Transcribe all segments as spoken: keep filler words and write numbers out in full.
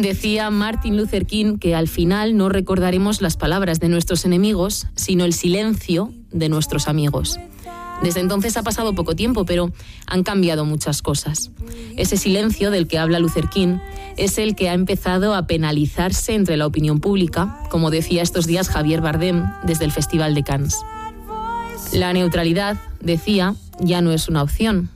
Decía Martin Luther King que al final no recordaremos las palabras de nuestros enemigos, sino el silencio de nuestros amigos. Desde entonces ha pasado poco tiempo, pero han cambiado muchas cosas. Ese silencio del que habla Luther King es el que ha empezado a penalizarse entre la opinión pública, como decía estos días Javier Bardem desde el Festival de Cannes. La neutralidad, decía, ya no es una opción.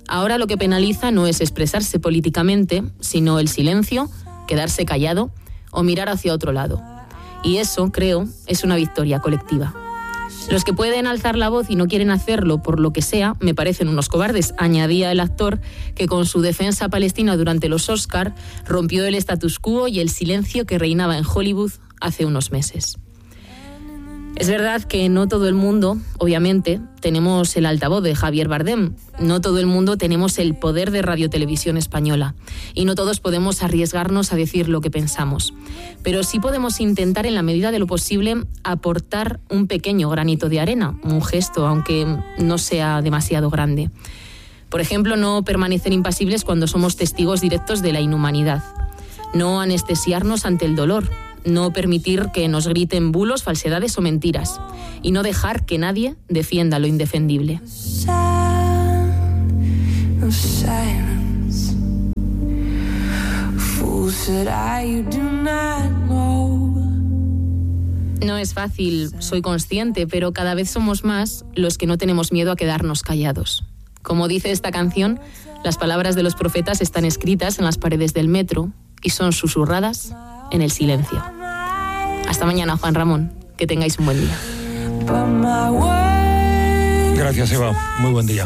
Ahora lo que penaliza no es expresarse políticamente, sino el silencio, quedarse callado o mirar hacia otro lado. Y eso, creo, es una victoria colectiva. Los que pueden alzar la voz y no quieren hacerlo por lo que sea, me parecen unos cobardes, añadía el actor que con su defensa palestina durante los Oscar rompió el status quo y el silencio que reinaba en Hollywood hace unos meses. Es verdad que no todo el mundo, obviamente, tenemos el altavoz de Javier Bardem, no todo el mundo tenemos el poder de Radio Televisión Española y no todos podemos arriesgarnos a decir lo que pensamos. Pero sí podemos intentar, en la medida de lo posible, aportar un pequeño granito de arena, un gesto, aunque no sea demasiado grande. Por ejemplo, no permanecer impasibles cuando somos testigos directos de la inhumanidad, no anestesiarnos ante el dolor, no permitir que nos griten bulos, falsedades o mentiras y no dejar que nadie defienda lo indefendible. No es fácil, soy consciente, pero cada vez somos más los que no tenemos miedo a quedarnos callados. Como dice esta canción, las palabras de los profetas están escritas en las paredes del metro y son susurradas en el silencio. Hasta mañana, Juan Ramón. Que tengáis un buen día. Gracias, Eva. Muy buen día.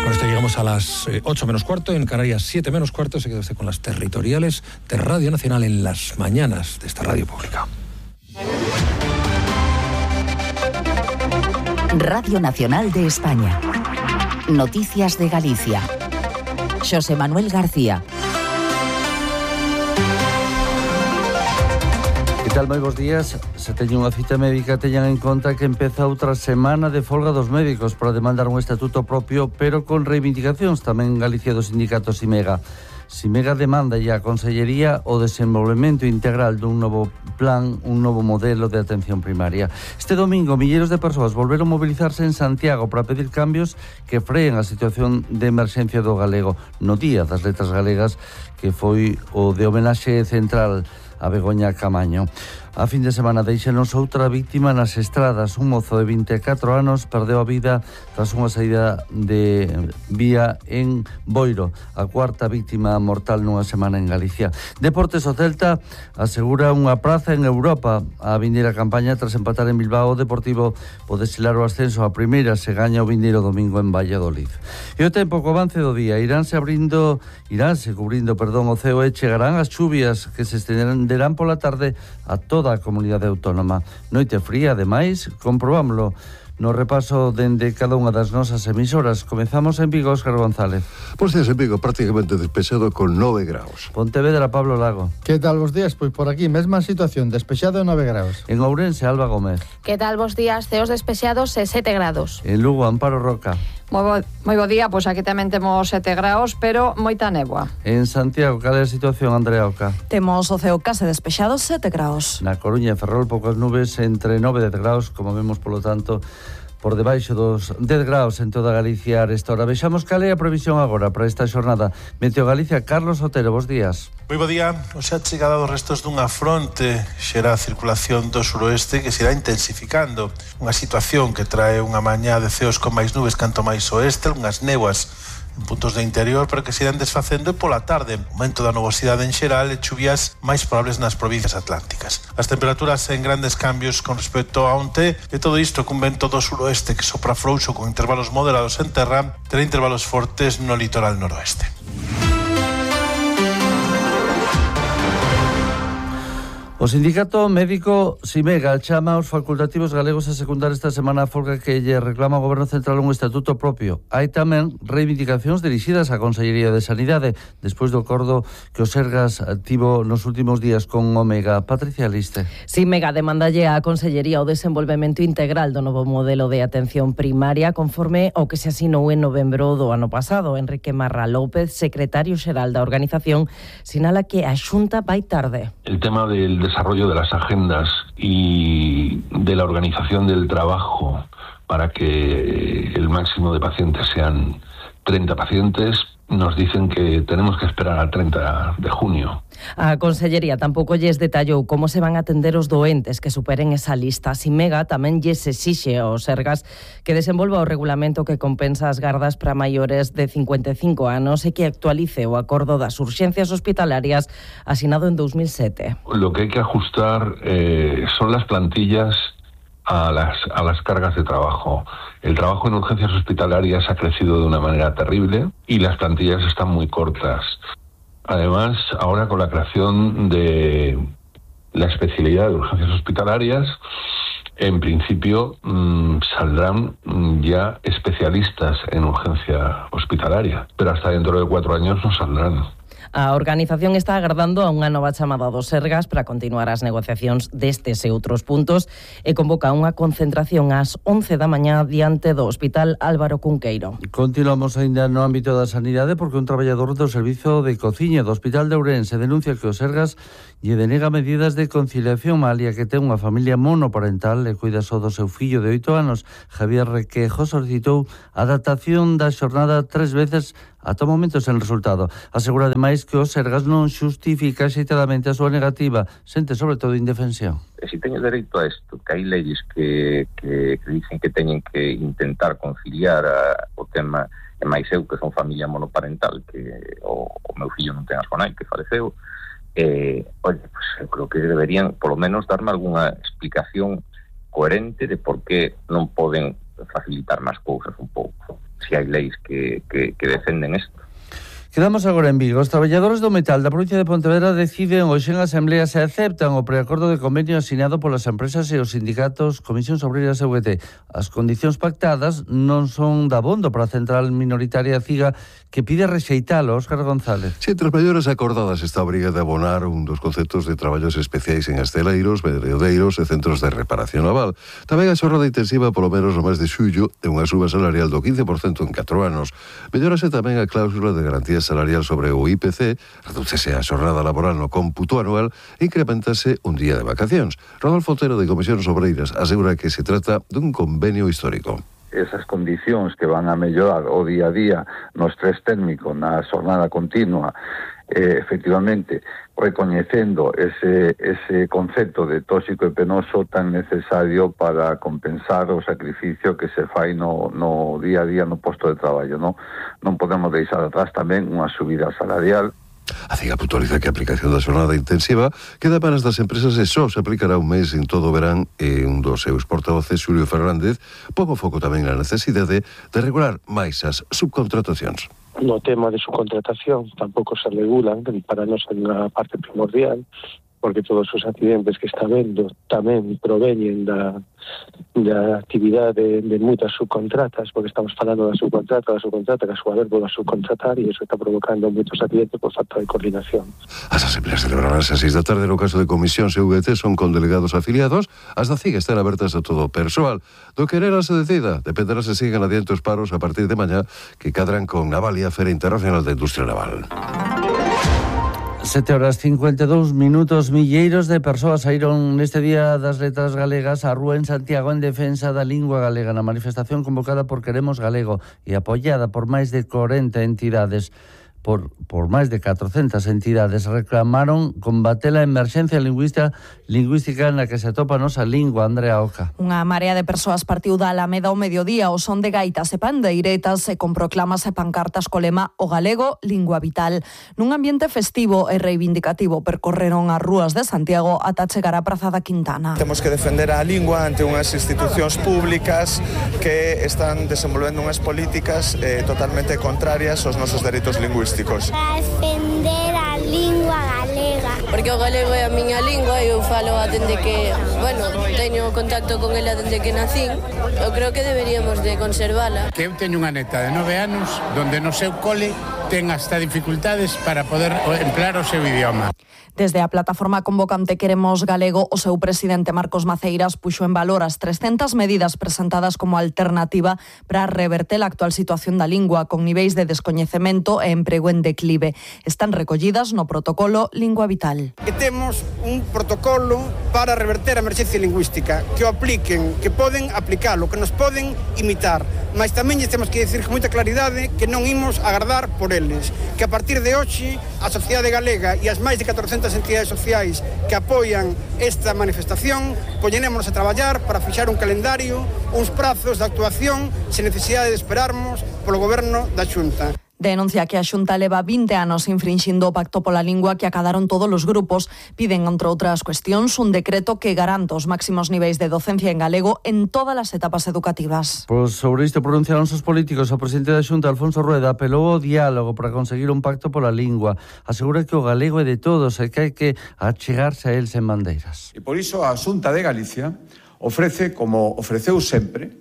Con esto llegamos a las ocho menos cuarto, en Canarias siete menos cuarto. Se queda usted con las territoriales de Radio Nacional en las mañanas de esta radio pública. Radio Nacional de España. Noticias de Galicia. Xosé Manuel García. Que tal, moi bons días. Se teñen unha cita médica, teñan en conta que empeza outra semana de folga dos médicos para demandar un estatuto propio, pero con reivindicacións tamén en Galicia do sindicato Simega. Simega demanda e a Consellería o desenvolvemento integral dun novo plan, un novo modelo de atención primaria. Este domingo, milleiros de persoas volveron mobilizarse en Santiago para pedir cambios que freen a situación de emerxencia do galego no Día das Letras Galegas, que foi o de homenaxe central a Begoña Camaño. A fin de semana deixenos outra víctima nas estradas. Un mozo de vinte e catro anos perdeu a vida tras unha saída de vía en Boiro, a cuarta víctima mortal nunha semana en Galicia. Deportes, o Celta asegura unha praza en Europa. A vindeira campaña, tras empatar en Bilbao, o Deportivo pode selar o ascenso a primeira se gaña o vindeiro domingo en Valladolid. E o tempo, co avance do día, iránse abrindo, iránse cubrindo, perdón, o ceo e chegarán as chuvias que se estenderán pola tarde a toda a comunidade autónoma. Noite fría, ademais, comprobámoslo no repaso dende cada unha das nosas emisoras. Comezamos en Vigo, Óscar González. Bos días en Vigo, prácticamente despexado con nove graus. Pontevedra, Pablo Lago. Que tal, bos días? Pois por aquí, mesma situación, despexado e nove graus. En Ourense, Alba Gómez. Que tal, bos días? Ceos despexados e sete grados. En Lugo, Amparo Roca. Moi bo, moi bo día, pois aquí tamén temos sete graus, pero moita néboa. En Santiago, cal é a situación, Andrea Oca? Temos o ceo case despexado, sete graus. Na Coruña e Ferrol, poucas nubes, entre nove e dez graus, como vemos, polo tanto, por debaixo dos dez graus en toda Galicia a esta hora. Vexamos cal é a previsión agora para esta xornada. Meteo Galicia, Carlos Otero, bos días. Moi bo día. Hoxe a chegada dos restos dunha fronte xera a circulación do suroeste que se irá intensificando. Unha situación que trae unha mañá de ceos con máis nubes canto máis oeste, unhas néboas en puntos do interior, pero que se irán desfacendo, e pola tarde, aumento da nubosidade en xeral e chuvias máis probables nas provincias atlánticas. As temperaturas en grandes cambios con respecto a onte, e todo isto cun vento do suroeste que sopra frouxo con intervalos moderados en terra, terá intervalos fortes no litoral noroeste. O sindicato médico Simega chama aos facultativos galegos a secundar esta semana a folga que lle reclama ao Goberno Central un estatuto propio. Hai tamén reivindicacións dirixidas á Consellería de Sanidade despois do acordo que o Sergas tivo nos últimos días con Omega. Patricia Liste. Simega demandalle á Consellería o desenvolvemento integral do novo modelo de atención primaria conforme ao que se asinou en novembro do ano pasado. Enrique Marra López, secretario xeral da organización, sinala que a Xunta vai tarde. El tema del desarrollo de las agendas y de la organización del trabajo para que el máximo de pacientes sean treinta pacientes, nos dicen que tenemos que esperar al treinta de junio. A Consellería tampouco lles detallou como se van a atender os doentes que superen esa lista. Simega tamén lles exixe aos Sergas que desenvolva o regulamento que compensa as gardas para maiores de cincuenta e cinco anos e que actualice o acordo das urxencias hospitalarias asinado en dos mil sete. Lo que hay que ajustar eh, son las plantillas a las, a las cargas de trabajo. El trabajo en urgencias hospitalarias ha crecido de una manera terrible y las plantillas están muy cortas. Además, ahora con la creación de la especialidad de urgencias hospitalarias, en principio mmm, saldrán ya especialistas en urgencia hospitalaria, pero hasta dentro de cuatro años no saldrán. A organización está agardando a unha nova chamada dos Sergas para continuar as negociacións destes e outros puntos e convoca unha concentración ás once da mañá diante do Hospital Álvaro Cunqueiro. Continuamos ainda no ámbito da sanidade porque un traballador do Servizo de Cociña do Hospital de Ourense denuncia que os Sergas lle denega medidas de conciliación malia que ten unha familia monoparental e cuida só do seu fillo de oito anos. Javier Requejo solicitou a adaptación da xornada tres veces ata o momento sen resultado. Asegura ademais que os Sergas non xustifica xeitadamente a súa negativa, sente sobre todo indefensión. E se teño dereito a isto, que hai leyes que, que, que dicen que teñen que intentar conciliar a, o tema, e máis eu que son familia monoparental, que o, o meu fillo non ten a súa nai, que faleceu, eh, oye, pues eu creo que deberían polo menos darme algunha explicación coherente de por que non poden facilitar máis cousas un pouco, se hai leis que, que, que defenden isto. Quedamos agora en Vigo. Os traballadores do metal da provincia de Pontevedra deciden hoxe en asamblea se aceptan o preacordo de convenio asinado polas empresas e os sindicatos Comisións Obreiras e U G T. As condicións pactadas non son dabondo para a central minoritaria CIGA que pide rexeitalo. Óscar González. Si, entre as maiores acordadas está a obriga de abonar un dos conceptos de traballos especiais en esteleiros, medreodeiros e centros de reparación naval. Tamén a xornada intensiva polo menos no mes de xullo e unha suba salarial do quince por cento en catro anos. Mellorase tamén a cláusula de garantía salarial sobre o I P C, redúcese a xornada laboral no cómputo anual e incrementase un día de vacacións. Rodolfo Otero de Comisións Obreiras asegura que se trata dun convenio histórico. Esas condicións que van a mellorar o día a día no estrés térmico, na xornada continua, eh, efectivamente, recoñecendo ese, ese concepto de tóxico e penoso tan necesario para compensar o sacrificio que se fai no, no día a día no posto de traballo, non? Non podemos deixar atrás tamén unha subida salarial. A CIGA puntualiza que a aplicación da xornada intensiva queda para as empresas e só se aplicará un mes en todo o verán e un dos seus portavoces, Xulio Fernández, pon o foco tamén na necesidade de regular máis as subcontratacións. No tema de subcontratación tampouco se regulan, para nós é unha parte primordial, porque todos os accidentes que está vendo tamén proveñen da, da actividade de, de moitas subcontratas, porque estamos falando da subcontrata, da subcontrata, que a súa vez volve a subcontratar e iso está provocando moitos accidentes por falta de coordinación. As asambleas celebraránse a seis da tarde no caso de Comisións e U G T son con delegados afiliados, as da CIGA están abertas a todo o persoal. Do que era se decida, dependerá se sigan adiante os paros a partir de mañá que cadran con Navalia, Feira Internacional de Industria Naval. Sete horas cincuenta e dous minutos. Milleiros de persoas saíron neste Día das Letras Galegas á rúa en Santiago en defensa da lingua galega na manifestación convocada por Queremos Galego e apoiada por máis de corenta entidades. Por, por máis de catrocentas entidades reclamaron combater a emerxencia lingüística, lingüística na que se atopa a nosa lingua. Andrea Oca. Unha marea de persoas partiu da Alameda ao mediodía ao son de gaitas e pandeiretas e con proclamas e pancartas co lema O galego, lingua vital. Nun ambiente festivo e reivindicativo percorreron as rúas de Santiago ata chegar á Praza da Quintana. Temos que defender a lingua ante unhas institucións públicas que están desenvolvendo unhas políticas eh, totalmente contrarias aos nosos dereitos lingüísticos. Para defender a lingua galega. porque o galego é a miña lingua e eu falo dende que, bueno, teño contacto con ela dende que nacín. Eu creo que deberíamos de conservala. Que eu teño unha neta de nove anos donde no seu cole ten hasta dificultades para poder emplear o seu idioma. Desde a plataforma convocante Queremos Galego, o seu presidente Marcos Maceiras puxo en valor as trescentas medidas presentadas como alternativa para reverter a actual situación da lingua con niveis de descoñecemento e emprego en declive. Están recollidas no protocolo Lingua Vital. Que temos un protocolo para reverter a emerxencia lingüística, que o apliquen, que poden aplicalo, que nos poden imitar, mas tamén lles temos que dicir con moita claridade que non imos agardar por eles, que a partir de hoxe a sociedade galega e as máis de catorcentas entidades sociais que apoian esta manifestación poñenémonos a traballar para fixar un calendario, uns prazos de actuación sen necesidade de esperarmos polo goberno da Xunta. Denuncia que a Xunta leva vinte anos infrinxindo o Pacto pola Lingua que acadaron todos os grupos. Piden, entre outras cuestións, un decreto que garanta os máximos niveis de docencia en galego en todas as etapas educativas. Pois sobre isto pronunciaron os políticos. O presidente da Xunta, Alfonso Rueda, apelou ao diálogo para conseguir un pacto pola lingua. Asegura que o galego é de todos e que hai que achegarse a el sen bandeiras. E por iso a Xunta de Galicia ofrece, como ofreceu sempre,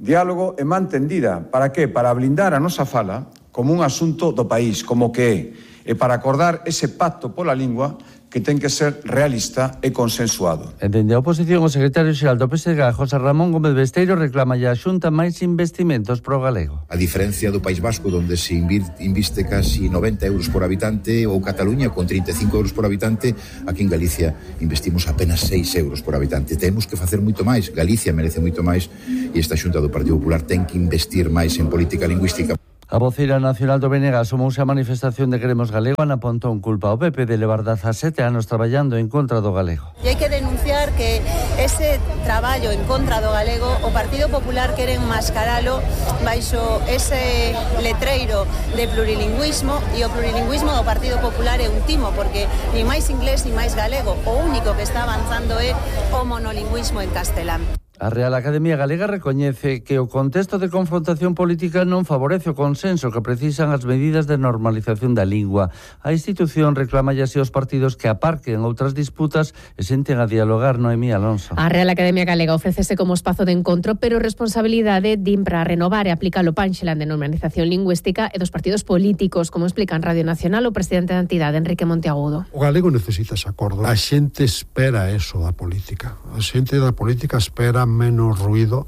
diálogo e man tendida. Para que? Para blindar a nosa fala como un asunto do país, como que é, e para acordar ese pacto pola lingua que ten que ser realista e consensuado. E dende a oposición, o secretario xeral do P S D G, José Ramón Gómez Besteiro, reclama a Xunta máis investimentos pro galego. A diferencia do País Vasco, onde se inviste casi noventa euros por habitante, ou Cataluña con trinta e cinco euros por habitante, aquí en Galicia investimos apenas seis euros por habitante. Temos que facer moito máis, Galicia merece moito máis, e esta Xunta do Partido Popular ten que investir máis en política lingüística. A voceira nacional do B N G asomouse a manifestación de Queremos Galego. Ana Pontón culpa ao P P de levar dezasete anos traballando en contra do galego. E hai que denunciar que ese traballo en contra do galego o Partido Popular quere enmascaralo baixo ese letreiro de plurilingüismo, e o plurilingüismo do Partido Popular é un timo, porque ni máis inglés ni máis galego, o único que está avanzando é o monolingüismo en castelán. A Real Academia Galega recoñece que o contexto de confrontación política non favorece o consenso que precisan as medidas de normalización da lingua. A institución reclama así aos partidos que aparquen outras disputas e senten a dialogar. Noemí Alonso. A Real Academia Galega ofrécese como espazo de encontro, pero responsabilidade din para renovar e aplicar o panxelan de normalización lingüística e dos partidos políticos, como explica en Radio Nacional o presidente da entidade, Enrique Monteagudo. O galego necesita ese acordo. A xente espera eso da política. A xente da política espera menos ruido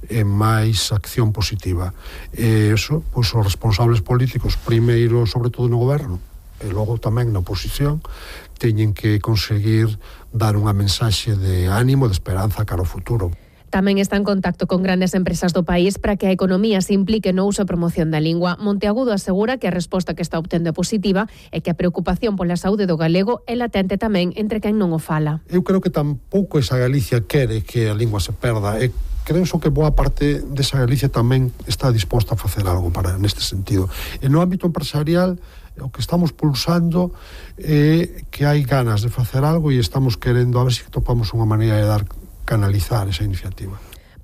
e máis acción positiva. E iso, pois os responsables políticos, primeiro, sobre todo no goberno, e logo tamén na oposición, teñen que conseguir dar unha mensaxe de ánimo, de esperanza cara ao futuro. Tamén está en contacto con grandes empresas do país para que a economía se implique no uso e promoción da lingua. Monteagudo asegura que a resposta que está obtendo é positiva e que a preocupación pola saúde do galego é latente tamén entre quen non o fala. Eu creo que tampouco esa Galicia quere que a lingua se perda. E creo que boa parte desa Galicia tamén está disposta a facer algo para neste sentido. E no ámbito empresarial, o que estamos pulsando é que hai ganas de facer algo e estamos querendo a ver se topamos unha maneira de dar canalizar esa iniciativa.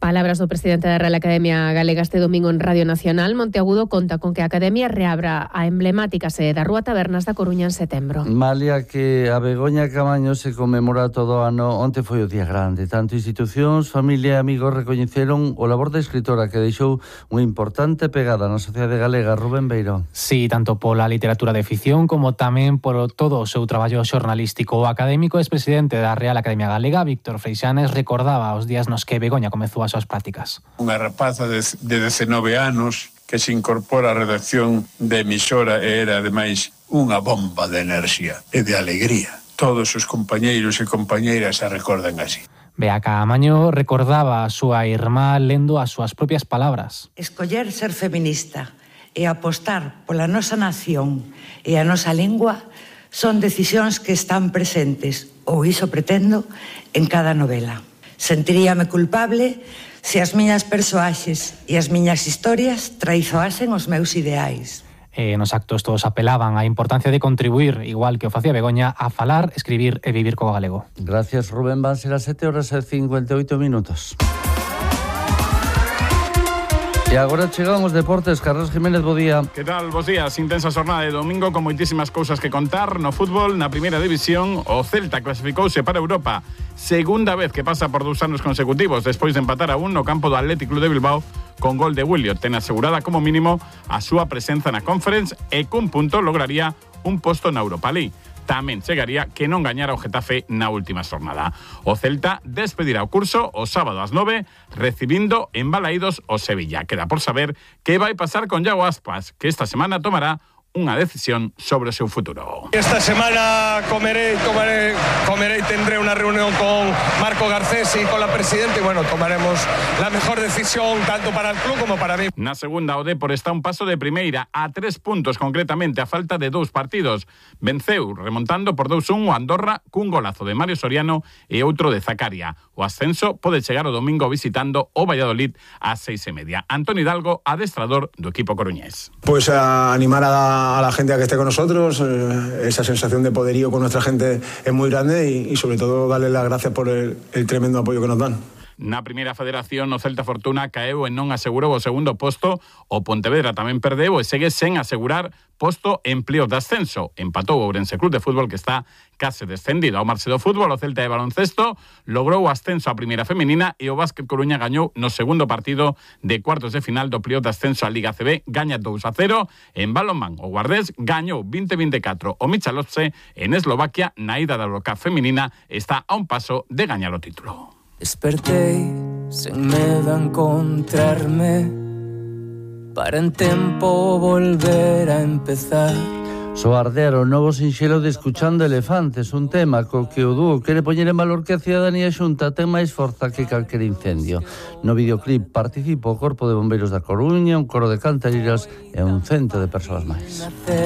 Palabras do presidente da Real Academia Galega este domingo en Radio Nacional. Monteagudo conta con que a Academia reabra a emblemática sede da Rúa Tabernas da Coruña en setembro. Malia que a Begoña Camaño se conmemora todo o ano, onte foi o día grande. Tanto institucións, familia e amigos recoñeceron o labor da escritora que deixou unha importante pegada na sociedade galega. Rubén Beirón. Sí, tanto pola literatura de ficción como tamén por todo o seu traballo xornalístico. O académico expresidente da Real Academia Galega, Víctor Freixanes, recordaba os días nos que Begoña comezou as súas prácticas. Unha rapaza de, de dezenove anos que se incorpora á redacción de emisora e era, ademais, unha bomba de enerxía e de alegría. Todos os compañeiros e compañeiras a recordan así. Bea Caamaño recordaba a súa irmá lendo as súas propias palabras. Escoller ser feminista e apostar pola nosa nación e a nosa lingua son decisións que están presentes, ou iso pretendo, en cada novela. Sentiríame culpable se as miñas persoaxes e as miñas historias traizoasen os meus ideais. E nos actos todos apelaban á importancia de contribuir, igual que o facía Begoña, a falar, escribir e vivir co galego. Gracias, Rubén. Van ser as sete horas e cincuenta e oito minutos. E agora chegamos deportes. Carlos Jiménez, bo día. Que tal? Bos días. Intensa xornada de domingo con moitísimas cousas que contar. No fútbol, na primeira división, o Celta clasificouse para Europa. Segunda vez que pasa por dous anos consecutivos despois de empatar a un no campo do Athletic Club de Bilbao con gol de Williot. Ten asegurada como mínimo a súa presenza na Conference e cun punto lograría un posto na Europa League. Tamén chegaría que non gañara o Getafe na última xornada. O Celta despedirá o curso o sábado ás nove, recibindo en Balaídos o Sevilla. Queda por saber que vai pasar con Iago Aspas, que esta semana tomará unha decisión sobre o seu futuro. Esta semana comeré, tomaré, comeré y tendré una reunión con Marco Garcés y con la presidenta y bueno, tomaremos la mejor decisión tanto para el club como para mí. Na segunda, o Depor está un paso de primeira a tres puntos concretamente a falta de dous partidos. Venceu remontando por dous un o Andorra cun golazo de Mario Soriano e outro de Zacaria. O ascenso pode chegar o domingo visitando o Valladolid ás seis e media. Antón Hidalgo, adestrador do equipo coruñés. Pues a animar a a la gente a que esté con nosotros, eh, esa sensación de poderío con nuestra gente es muy grande y, y sobre todo darles las gracias por el, el tremendo apoyo que nos dan. Na primeira federación, o Celta Fortuna caeu e non asegurou o segundo posto, o Pontevedra tamén perdeu e segue sen asegurar posto en pleo de ascenso. Empatou o Ourense Club de Fútbol, que está case descendido. Ao marche do fútbol, o Celta de baloncesto logrou o ascenso á primeira femenina e o Básquet Coruña gañou no segundo partido de cuartos de final do pleo de ascenso á Liga C B, gaña dous a cero. En balonmán, o Guardés gañou veinte a veinticuatro o Michalovce. En Eslovaquia, na ida da Eurocup femenina, está a un paso de gañar o título. Despertei sen medo a encontrarme para en tempo volver a empezar. Soardear o novo sinxelo de Escuchando Elefantes, un tema co que o dúo quere poñer en valor que a cidadanía xunta ten máis forza que calquer incendio. No videoclip participa o Corpo de Bombeiros da Coruña, un coro de cantariras e un cento de persoas máis.